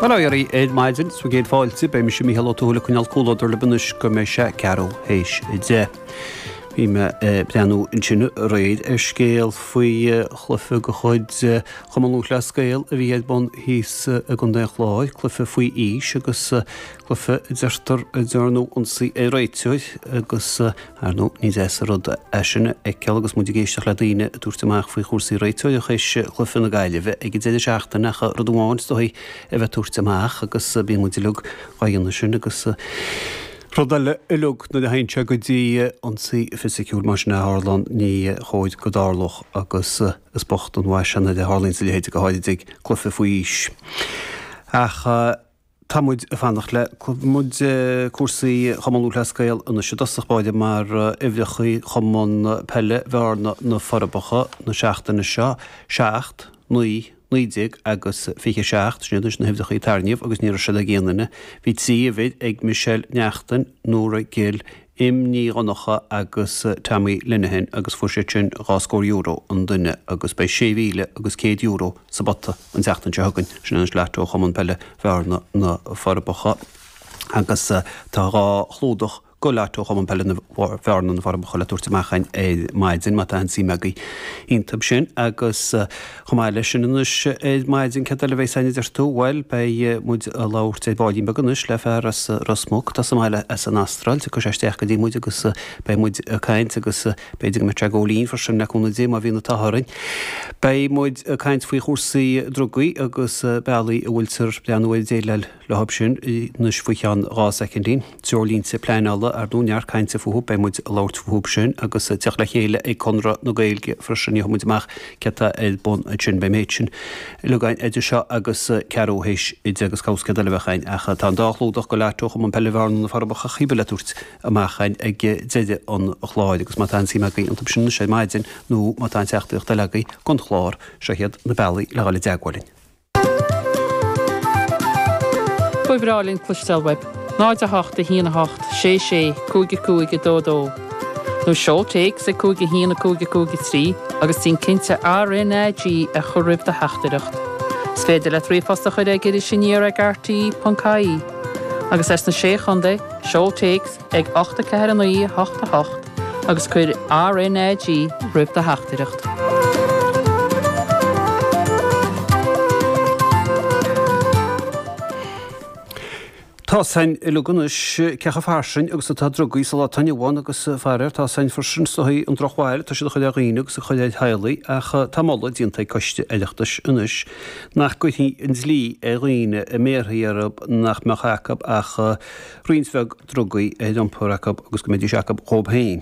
Bail ó Dhia oraibh ar maidin, 's bhur gcéad fáilte, beidh mise Mícheál Ó Tuathail ag coinneáil comhluadar libh anois go mbeidh sé ceathrú théis 10. Bhí mé ag breathnú ansin aréir ar scéal faoi chluiche de chuid Chumann Lúthchleas Gael a bhí ar bun thíos i gContae an Chláir, cluiche faoi aois agus cluiche a deirtear a ndearnadh ionsaí ar réiteoir agus Ar ndóigh, ní deas an rud é sin a fheiceáil agus muid ag éisteacht le daoine ag tabhairt amach faoi chúrsaí réiteoireachta théis chluiche na Gaillimhe ag an deireadh seachtaine ach rud amháin is dóigh a bheith ag tabhairt amach agus bíonn muid uilig dhá dhéanamh sin agus rud eile uilig nuair a théann sé go dtí ionsaí fisiciúil mar sin a tharlaíonn ní chóir go dtarlódh agus is bocht an mhaise nuair a tharlaíonn a leithéid go háirid ag cluiche faoi aois. Ach. Tá muid ag fanacht le muid cúrsaí Chumann Lúthchleas Gael anois i dtosach báire mar uimhreacha Chumann Peile Bhearna na Forbacha na seachtaine seo, 7, 9, 19 agus 27, sin iad anois na huimhreacha a tarraingíodh agus ní raibh siad ag aon duine. Bhí 3 uimhir ag Michelle Neachtain, Nóra Gill, Im Ní Dhonncha agus Tommy Lenihan agus fuair siad sin dhá scór euro an duine agus beidh 6,000 agus €100 sa bpota an tseachtain seo chugainn. Sin anois Lotto Chumann Peile Bhearna na Forbacha agus tá dhá chlúdach go Lotto Chumann Peile Bhearna na Forbacha le tabhairt amach againn ar maidin má tá aon suim agaibh iontub sin agus Chomh maith leis sin anois ar maidin, céard eile a bheas againn a deir tú? Bhuel, beidh muid ag labhairt ar baillín beag anois le fear as Ros Muc atá sa mbaile as an Astráil. Tiocfaidh sé isteach go dtí muid agus beidh muid ag caint agus b'fhéidir go mbeidh sé ag ól linn freisin le cúnamh Dé má bhíonn an t-ádh orainn. Beidh muid ag caint faoi chúrsaí drugaí agus bealaí a bhfuiltear breathnú ar déileáil leothab sin anois faoi cheann 2 soicindín. Treoirlínte pleanála, ar ndóigh, neart cainte fúthu, beidh muid ag labhairt fúthu sin agus teacht le chéile ag Conradh na Gaeilge freisin, gheobhaidh muid amach céard tá ar bun ansin. Beidh an méid sin uilig againn idir seo agus ceathrú théis 10 agus cá bhfios céard eile a bheadh againn ach tá an dá chlúdach go Lotto Chumann Peile Bhearna na Forbacha cibé le tabhairt amach againn ag deireadh an chláir agus má tá aon suim agaibh iontu sin anois ar maidin nó má tá aon teachtaireacht eile agaibh don chlár, seo iad na bealaí le dhul i dteagmháil linn. Ba bhreá linn cloisteáil uaibh. 0 8 1 8 6 6 5 5 2 2 Nó seol téacs ag 5 1 5 5 3 agus déan cinnte RnaG a chur roimh do theachtaireacht. Is féidir leat ríomhphost a chur ag irisaniar ag rte.ie. Agus as na Sé Chontae, seol téacs ag 8 4 9 8 8 agus cuir RnaG roimh do theachtaireacht. Tá 's againn uilig anois cé chomh fairsing agus atá drugaí sa lá atá inniu ann agus faraor tá 's againn freisin is dóigh an drochbhail atá siad a chur ar dhaoine agus a chur ar theaghlaigh ach tá moladh déanta ag coiste Oireachtais anois nach gcuirfí an dlí ar dhaoine a mbéarfaí orthu nach mbeadh acu ach roinnt bheag drugaí ar iompar acu agus go mbeidís acu dhóibh féin.